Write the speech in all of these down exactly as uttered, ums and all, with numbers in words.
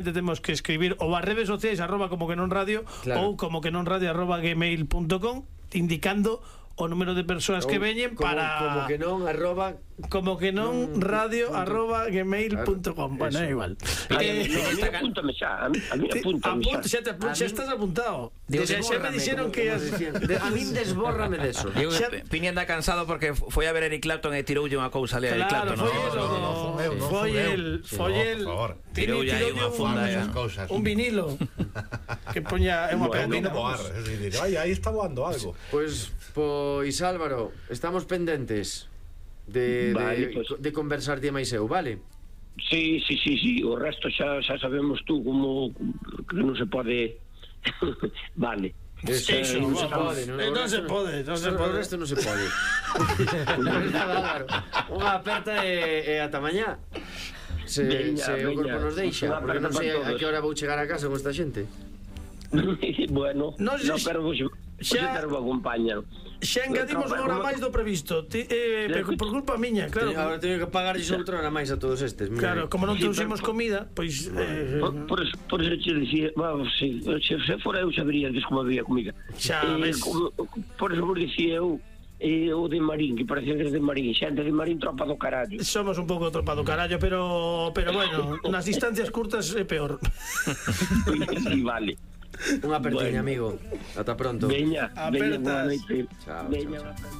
temos que escribir ou as redes sociais arroba como que non radio, claro, ou como que non radio arroba gmail punto com, indicando o número de persoas que veñen para como que non arroba como que non radio arroba gmail punto com. Bueno, é igual. Apúntame xa, a mí apúntame xa. Xa te xa estás apuntado. Xa me dixeron que a min desbórrame deso. Piña anda cansado porque foi a ver Eric Clapton e tiroulle unha cousa ali a Eric Clapton. Foi el, foi el tiroulle aí unha funda, un vinilo que poña unha pena. Aí está voando algo. Pois Pois Álvaro, estamos pendentes de, vale, de, pues, de conversar de máis eu, vale? Sí, sí, sí, sí, o resto xa, xa sabemos tú como que non se pode. Vale. Eso, eso, non se pode, non, non se pode, non se pode. O resto non se pode. Unha aperta e, e ata mañá. Se, veña, se veña, o corpo nos deixa, porque non sei a que hora vou chegar a casa con esta xente. Bueno, no, no pero vos xa te acompañan. Xa engadimos unha hora máis do previsto, ti, eh, por, por culpa miña, claro. Agora teño que pagar outra hora máis a todos estes. Claro, como non trouxemos comida, pois eh, por, por, eso, por eso che dicía, vamos, si, se, se fora eu sabería antes como había comida. Xa, eh, ves. Como, por eso vos dicía eu, eh, o de Marín, que parecía que es de Marín, xente de Marín, tropa do carallo. Somos un pouco tropa do carallo, pero pero bueno, nas distancias curtas é peor. Sí, vale. Unha apertiña, bueno, amigo. Ata pronto. Veña, veña, boa noite. Chao, veña. Chao, chao.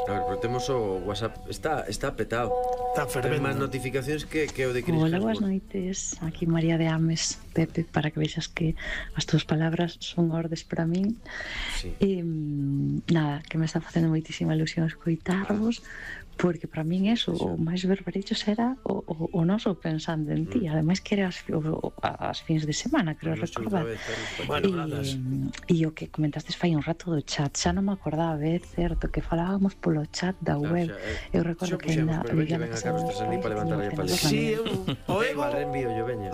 A ver, pero temos o WhatsApp. Está, está petado. Está fervendo. Ten máis notificacións que, que o de Cris. Hola, boas noites. Aquí María de Ames. Pepe, para que vexas que as túas palabras son ordes para min. Sí. E, nada, que me está facendo moitísima ilusión escoitarvos, porque para min eso, sí, o máis verberecho será o, o, o noso pensando en ti, mm. ademais que era as, o, as fins de semana, creo recordar. Bueno, e o que comentastes fai un rato do chat, xa non me acordaba, é certo que falábamos polo chat da web. Eu recordo que ainda vivía na casa dos pais para levantar a paleta. Sí, o ego envío yo veña.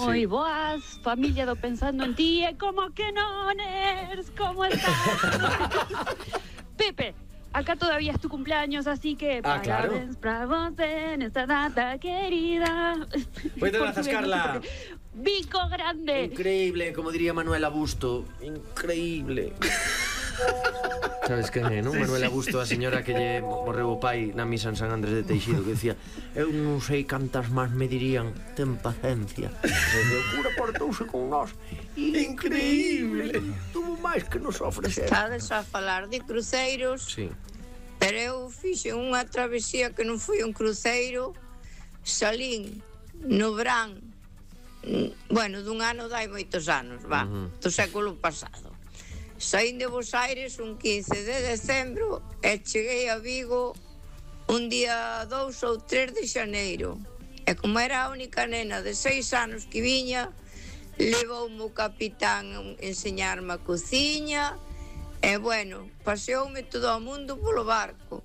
Moi boas, familia do Pensando en Ti. E como que non eres, como estás? Pepe, acá todavía es tu cumpleaños, así que ah, parabéns para vos en esta data querida. Voy a zascarla. Bico grande. Increíble, como diría Manuela Busto. Increíble. Sabes quen é, non? Sí, Manuela Busto, a señora que lle morreu o pai na misa en San Andrés de Teixido, que decía: eu non sei cantas máis me dirían, ten paciencia. E o cura portouse con nós. Increíble. Tuvo máis que nos ofrecer. Estades a falar de cruceiros. Sí. Pero eu fixe unha travesía que non foi un cruceiro. Salín no verán, bueno, dun ano dai moitos anos, va, uh-huh. do século pasado. Saín de Bos Aires un quince de decembro e cheguei a Vigo un día dous ou tres de xaneiro. E como era a única nena de seis anos que viña, levoume o capitán a enseñarme a cociña e, bueno, paseoume todo o mundo polo barco.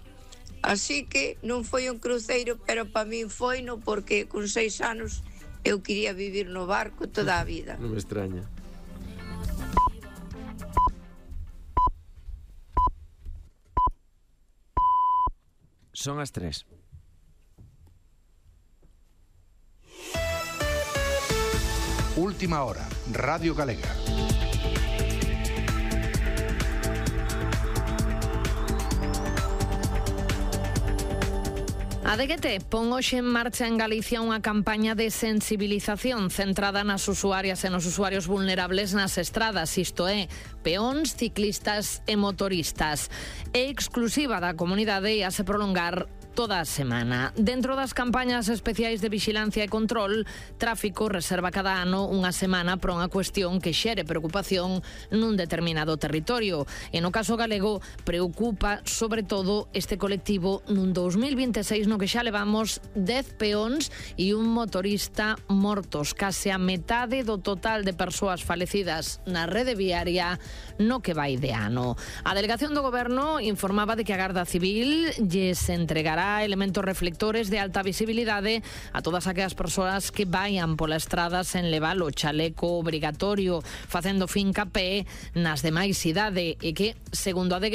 Así que non foi un cruceiro, pero para min foi no, porque con seis anos eu quería vivir no barco toda a vida. Non me extraña. Son as tres. Última hora, Radio Galega. A D G T pon hoxe en marcha en Galicia unha campaña de sensibilización centrada nas usuarias e nos usuarios vulnerables nas estradas, isto é, peóns, ciclistas e motoristas. É exclusiva da comunidade e a se prolongar toda a semana. Dentro das campañas especiais de vixilancia e control, Tráfico reserva cada ano unha semana para unha cuestión que xere preocupación nun determinado territorio. E no caso galego, preocupa sobre todo este colectivo nun dous mil vinte e seis no que xa levamos dez peóns e un motorista mortos, case a metade do total de persoas falecidas na rede viaria no que vai de ano. A delegación do Goberno informaba de que a Garda Civil lles entregará elementos reflectores de alta visibilidade a todas aquelas persoas que vayan pola estrada sen levar o chaleco obrigatorio, facendo fincapé nas demais idade e que, segundo a D G